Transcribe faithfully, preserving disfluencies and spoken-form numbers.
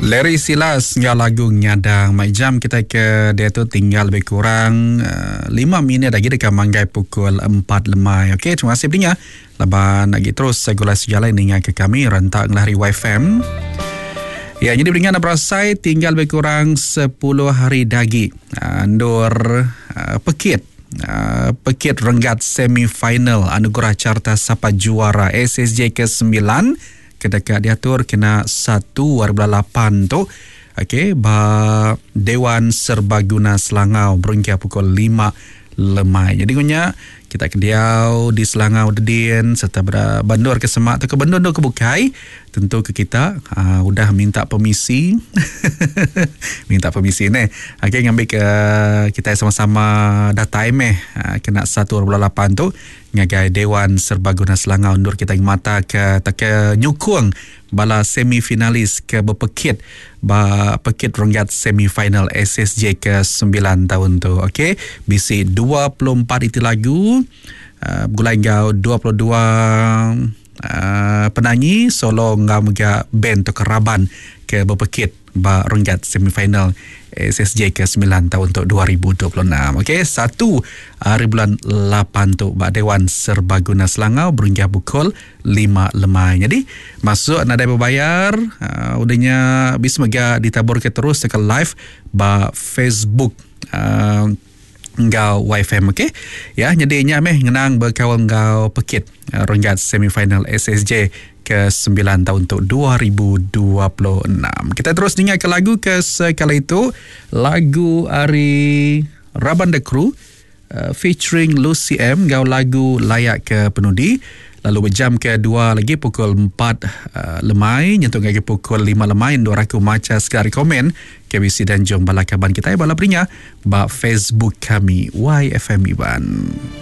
Larry Silas enggau lagu Ngadang. Mai jam kita ke diatu tinggal lebih kurang uh, lima minit lagi dekat manggai pukul empat lemai. Okey, terima kasih pendengar. Laban lagi terus segulai sejalai ninga ke kami rentak ngelari Y F M. Ya, jadi pendengar nak berasai tinggal lebih kurang sepuluh hari dagi. Uh, ndur uh, pekit. Uh, pekit renggat semifinal Anugerah Carta Sapa Juara S S J ke sembilan kedekat diatur kena satu hari bulan lapan tu. Okey, ba Dewan Serbaguna Selangau berengkah pukul lima lemai. Jadi punya kita kediau di Selangau Dedin serta bandur ke Semak atau ke Bendun ke Bukai, tentu ke kita uh, udah minta permisi. Minta permisi ni. Okey, ngambil ke kita sama-sama datai meh uh, kena satu hari bulan lapan tu ngagai Dewan Serbaguna Selangau undur kita mata ke tak nyukung bala semifinalis ke berpekit ba pekit renggat semifinal S S J ke sembilan tahun tu. Okey, B C dua puluh empat itu lagu uh, bergulai ngau dua puluh dua uh, penyanyi solo ngau mega band tu keraban ke berpekit ba renggat semifinal S S J ke sembilan tahun untuk dua ribu dua puluh enam. Okey, satu hari bulan lapan tu ba Dewan Serbaguna Selangau berhingga pukul lima lemai. Jadi masuk nadai berbayar, uh, udahnya bis mega ditabur ke terus ke live ba Facebook uh, ngau Y F M. Okey. Ya, jadi nya meh ngenang berkawal ngau pekit uh, renggat semifinal S S J ke sembilan tahun untuk dua ribu dua puluh enam. Kita terus dengar ke lagu ke sekali itu, lagu ari Raban The Crew uh, featuring Lucy M ngau lagu Layak ke Penudi. Lalu berjam ke dua lagi pukul empat uh, lemai nyentuh lagi pukul lima lemai dua raku maca sekali komen K B C dan jom bala kaban kita bala peringa ba Facebook kami Y F M Iban.